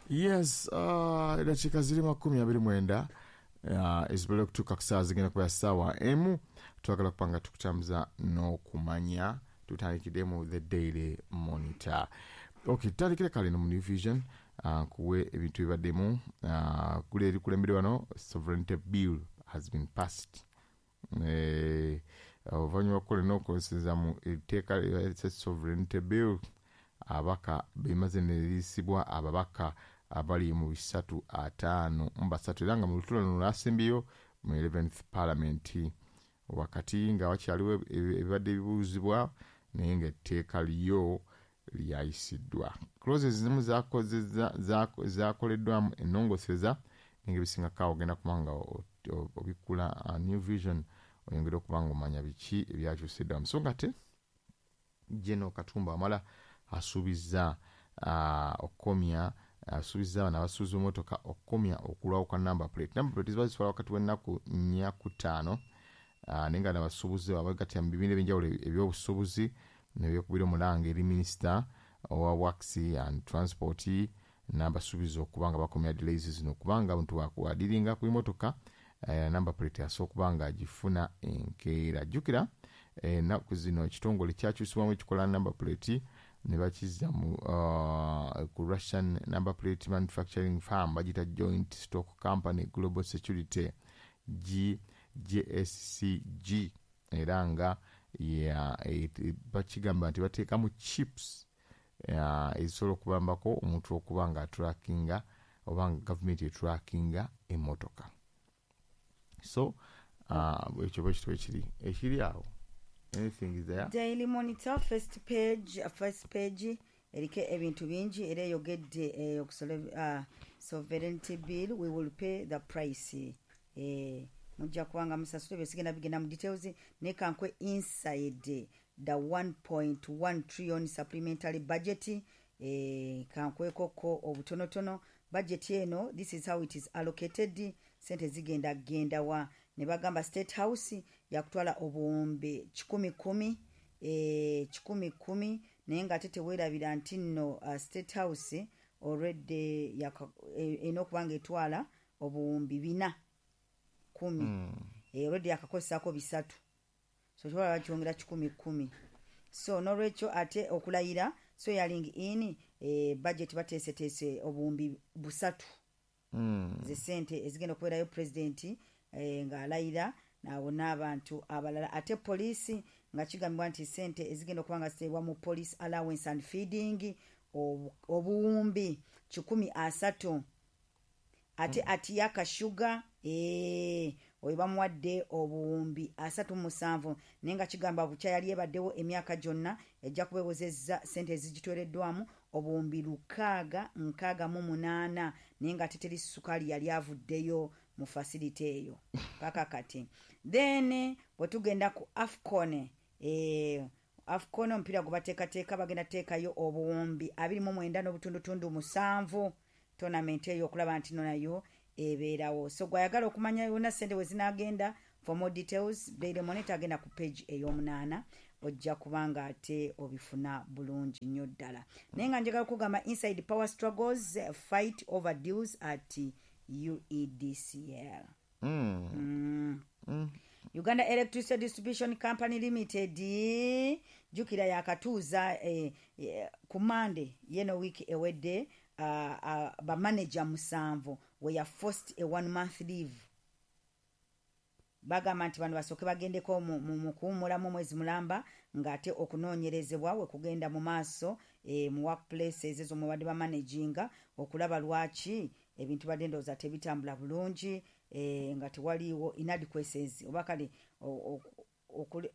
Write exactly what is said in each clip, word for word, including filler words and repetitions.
Yes, uh, eddakiika ziri makumi abiri mwenda uh, ezibale okutuuka ku ssaawa zigenda kuba ssaawa emu. Twagala kuba nga tukutambuza n'okumanya. Tutandikidde mu The Daily Monitor. Okay, tutandikire kale no mu New Vision, uh, nkuwe ebintu ebibaddemu. uh, kuli erikulembere wano, sovereignty bill has been passed. Eh, oluvannyuma lw'okukola n'okukozesa mu etteeka lya sovereignty bill, ababaka bemaze ne liyisibwa ababaka abali mu bisatu ataano mu basatu, era nga mu lutuula luno lwasembyeyo mu eleventh parliament, wakati nga wakyaliwo ebibadde bibuuzibwa, naye ng'etteeka lyo lyayisiddwa. Clauses zimu zakoleddwamu ennongoseza, naye ng'ebisingako awo ogenda kuba nga obikkula New Vision oyongere okuba nga omanya biki ebyakyusiddwamu. So nga te General Katumba Wamala asuubizza okukomya, asuubizza bano abasuubuzi b'emmotoka okukomya okulwawo kwa number plate. Number plate ziba zitwala wakati w'ennaku nnya ku ttaano, naye nga n'abasuubuzi abeegattira mu bibiina eby'enjawulo ebyobusuubuzi ne beekubira omulanga eri minisita owa Works and Transport n'abasuubiza okuba nga bakomya delays zino, kubanga abantu bakuadiringa ku mmotoka number plate asobola okuba nga agifuna enkeera. Jjukira ennaku zino ekitongole kyakyusibwamu ekikola number plate ne bakizza mu uh, ku Russian number plate manufacturing firm, bagiyita Joint Stock Company Global Security G J S C G, era nga bakigamba nti bateekamu chips ezisobola okubambako omuntu okuba nga atrackinga oba nga gavumenti etrackinga emmotoka. So ekyo bwe kityo ekiri ekiri awo. Anything is there? Daily Monitor first page, first page eriko ebintu bingi, era eyogedde uh, sovereignty bill, we will pay the price. Eh, mujja kubanga musasule byesigenda bigenda mu details, naye kankwe inside the one point one trillion supplementary budget. Eh, kankwekoko obutonotono budget eno. This is how it is allocated. Sente zigenda genda wa? Ne bagamba State House yakutwala obuwumbi kikumi kumi, e, kikumi kumi, naye ng'ate teweerabira nti nno uh, State House already erina okuba nga etwala obuwumbi bina kumi mm. e, already yakakozesaako bisatu, so kiwala bakyongera kikumi kumi. So nolwekyo ate okulayira, swearing in, e, budget bateeseteese obuwumbi busatu mm. ze sente ezigenda okubeerayo pulezidenti e, ng'alayira nabo n'abantu abalala. Ate poliisi, nga kigambibwa nti sente ezigenda okuba nga ziteebwa mu police allowance and feeding obuwumbi kikumi asatu. Ate mm. Atiak Sugar, ee, oyo bamuwadde obuwumbi asatu mu musanvu, naye nga kigamba bukya yali ebaddewo emyaka gyonna ejja kuba ewezezza sente ezigitwereddwamu obuwumbi lukaaga nkaaga mu munaana, naye nga ate teri sukaali yali avuddeyo mu facility eyo paka kati. Then bwe tugenda ku AFCON, eh, AFCON omupiira gwe bateekateeka, bagenda teekayo obuwumbi abiri mu mwenda n'obutundutundu musanvu tournament eyo okulaba nti no nayo ebeerawo. So gwayagala okumanya yonna sente we zinaagenda, for more details, Daily Monitor agenda ku page ey'omunaana, ojja kubanga ate obifuna bulungi nnyo ddala. Naye nga njagala okugamba inside power struggles, fight over deals at U E D C L. Mm. Mm. Mm. Uganda Electricity Distribution Company Limited, jjukira yakatuuza eh, eh, ku Mande yeno wiiki ewedde uh, uh, bamanager musanvu we forced a one month leave. Bagamba nti bano basooke bagendeko mu- mu mu kuwummulamu omwezi mulamba, ng'ate okunoonyerezebwa we kugenda mu maaso e, mu workplaces ezo mwe badde bamanaginga okulaba lwaki ebintu badde ndowooza tebitambula bulungi, e, nga tewaliiwo inadequacies oba kale o- o- okule-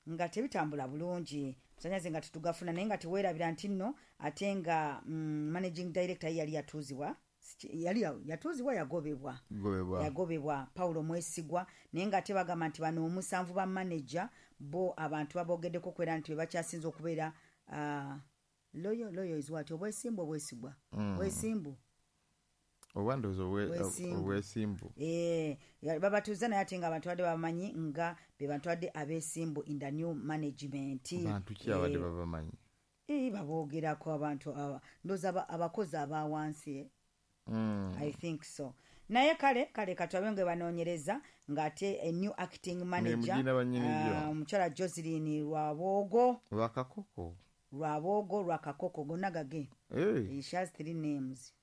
nga tebitambula bulungi, masannyalaze nga tetugafuna. Naye nga teweerabira nti nno ate nga mm, managing director ye yali yatuuzibwa. Siki- yali yatuuzibwa, yagobebwa. Gobebwa. Yagobebwa Paulo Mwesigwa. Naye nga ate bagamba nti bano omusanvu ba manager bo abantu babogeddeko kwera nti bebakyasinza okubeera uh, loyal. Loyal is what? Obwesimbu, obwesigwa, Mm. bwesimbu. Oba ndowooza obwe- Bwesimbu. Obwesimbu. Eh, ya- babatuuza, naye ate nga abantu badde babamanyi nga be bantu badde abeesimbu in the new management. Bantu ki abadde Eh, babamanyi? Eh, baboogerako abantu aba- ndowooza aba- abakozi aba wansi, eh? Mm. I think so. Naye kale kale katwabe nga banoonyereza ng'ate a new acting manager, Mugina bannyini gyo. ah, omukyala Joseline Rwabwogo. Lwakakoko. Rwabwogo, Rwakakoko, gonna gage. Hey, She has three names.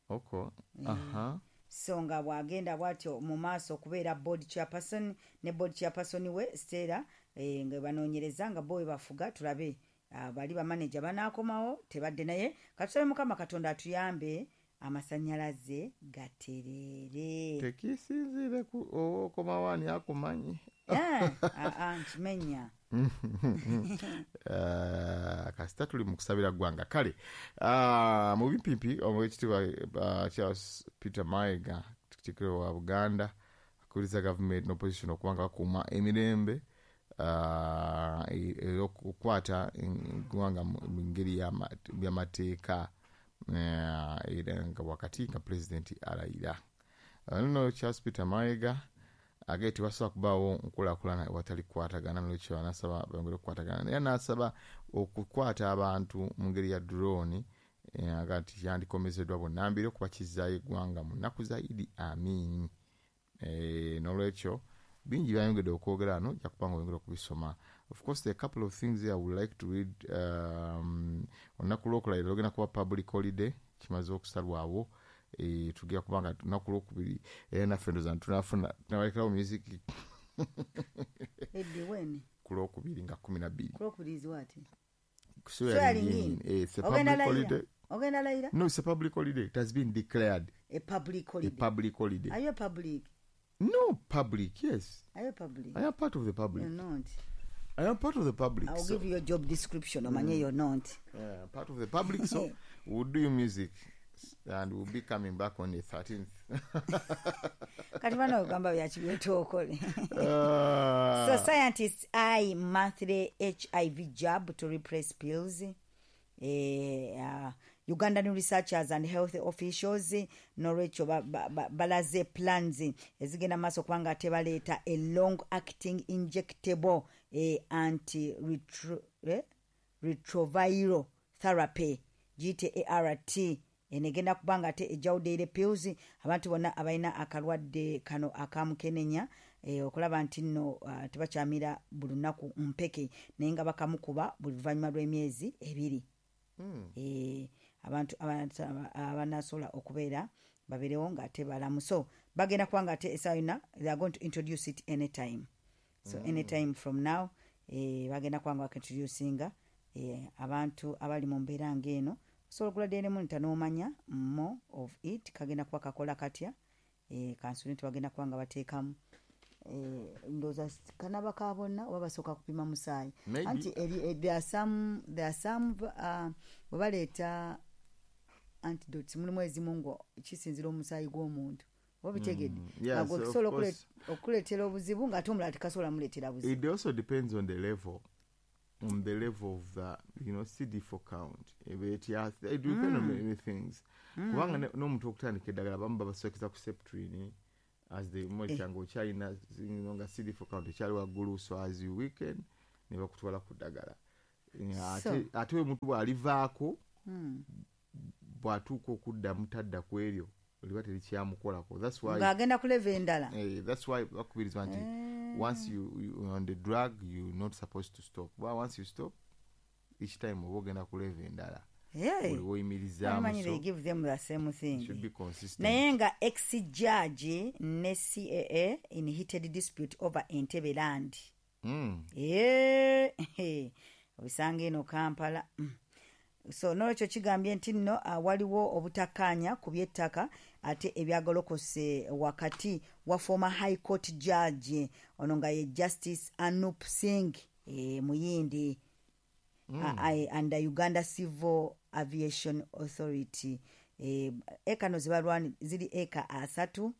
okay. Aha. So nga bw'agenda bw'atyo mu maaso okubeera board chairperson ne board chairperson we Stella, eh, nga banoonyereza nga bo we bafuga. Tulabe, ah, bali bamaneja banaakomawo tebadde. Naye katusabe Mukama Katonda atuyambe amasannyalaze gatereere. Tekisinziire ku oba okomawo ani akumanyi. Eh, ah, ah, nkimenya. Eh, kasita tuli mu kusabira ggwanga. Kale, ah, mu bipimpi, owekitiibwa ah, Charles Peter Mayiga, Katikkiro wa Buganda, akubiriza gavumenti n'opposition okuba nga bakuuma emirembe, ah, e- era okukwata eggwanga mu mu ngeri y'ama- y'amateeka, eh, era nga wakati nga pulezidenti alayira. Nno Charles Peter Mayiga agee tewasobola kubaawo nkulaakulana watali kukwatagana, nolwekyo anasaba bongere okukwatagana, era n'asaba okukwata abantu mu ngeri ya drone, eh, aga nti yandikomezeddwa bunnambiro kuba kizzaayo eggwanga mu nnaku za Idi Amin. Eh, nolwekyo bingi byayongedde okwogera wano, ojja kuba nga oyongera okubisoma. Of course, there are a couple of things here I would like to read. um, olunaku lwokulayira lugenda kuba public holiday, kimaze okusalwawo. Eh, tugenda kuba nga lunaku lwokubiri, era naffe ndoza tunafuna tunabalekerawo music. Eddi when? Ku lwokubiri nga kumi na bbiri. Kulwokubiri what? Swearing in. Eh, it's a Ogenda public layira? holiday. Ogenda layira? No, it's a public holiday. It has been declared. A public A holiday? public holiday. Are you a public? No, public, yes. Are you a public? I am part of the public. You're not. I am part of the public. I'll So, give you a job description, omanye you're not. Yeah, part of the public. So we'll do music and we'll be coming back on the thirteenth. Kati bano ogamba byakibyotookole. Uh, So scientists eye monthly H I V jab to replace pills. Eh, uh, ugandan researchers and health officials nolwekyo ba- ba- ba- balaze plans ezigenda maaso kubanga ate baleeta a long acting injectable eh, anti retro, eh, retroviral therapy, giyite A R T. Eno egenda kuba nga ate ejjawo daily pills, abantu bonna abalina akalwadde kano akamukenenya, eh, okulaba nti nno uh, tebakyamira buli lunaku mpeke, naye nga bakamukuba buli luvannyuma lw'emyezi ebiri. mm. Eh, abantu abana- abanasobola okubeera babeerewo ng'ate balamu. So bagenda kuba nga ate essaawa yonna they are going to introduce it anytime. So mm. anytime from now, eh, bagenda kuba nga bakintroducinga eh, abantu abali mu mbeera ng'eno. Osobola okugula Daily Monitor n'omanya more of it, kagenda kuba kakola katya. eh, kansule nti bagenda kuba nga bateekamu, eh, ndowooza kanaba ka bonna oba basooka kupima musaayi. Maybe. Anti eri- eh, there are some, there are some uh, bwe baleeta antidotes, mulimu ezimu ngo kisinzira omusaayi gw'omuntu, oba bitegedde? Mm, yeah, Nga gwe so of kisobola course. okule- okuleetera obuzibu ng'ate omulala tekasobola muleetera buzibu. It also depends on the level, on the level of the you know C D four count. It, yeah, it depends on many things, kubanga ne- n'omuntu okutandika eddagala abamu babasookeza ku Septrin as the monitor nga okyalina you know, nga C D four count ekyali waggulu, so as you weaken ne bakutwala ku ddagala. Eh, ate ate omuntu bw'alivaako, bw'atuuka okuddamu tadda ku eryo liba terikyamukolako. That's why Ng'agenda ku level endala. Eh, that's why bakubirizwa nti once you, you on the drug, you're not supposed to stop. Well, once you stop, each time oba ogenda ku level endala. Hey. Buli woyimirizaamu. Amanyi they So give them the same thing. Should be consistent. Naye nga ex judge ne C A A in heated dispute over Entebbe land. mm. Eh, obisanga eno Kampala. Mm. So nolwekyo kigambye nti nno ah, waliwo obutakkaanya ku by'ettaka ate ebyagolokose wakati wa former high court judge ono nga ye Justice Anup Singh, eh, muyindi, mm. and the Uganda Civil Aviation Authority. eh, eka no zibalwani ziri eka asatu,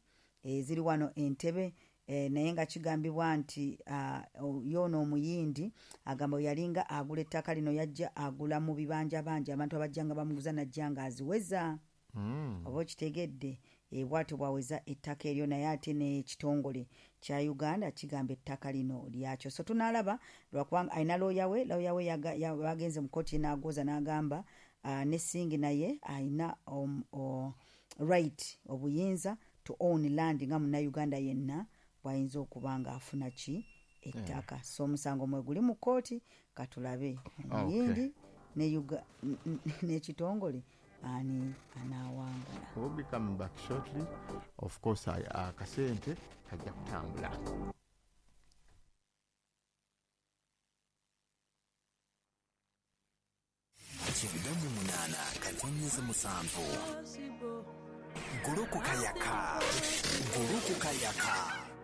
eh, ziri wano Entebe, eh, naye nga kigambibwa nti uh, yoono omuyindi agamba bwe yalinga agula ettaka lino, yajja agula mu bibanja banja, abantu abajja nga bamuguza, najja nga aziweza. Mm. Oba okitegedde? E, bw'atyo bwaweza ettaka eryo, naye ate n'ekitongole kya Uganda kigamba ettaka lino lyakyo. So tunaalaba, lwakubanga alina looya we, looya we bagenze mu kkooti n'agooza n'agamba uh, ne Singh naye alina um, uh, right, obuyinza to own land nga munnayuganda yenna bw'ayinza okuba nga afuna ki ettaka. Yeah. So omusango mwe guli mu kkooti, katulabe omuyindi n'ekitongole ani anaawangula. We'll be coming back shortly. Of course, akasente kajja kutambula. Kyenda mu munaana katonyeza musanvu. Gulukuka yaka. Gulukuka yaka.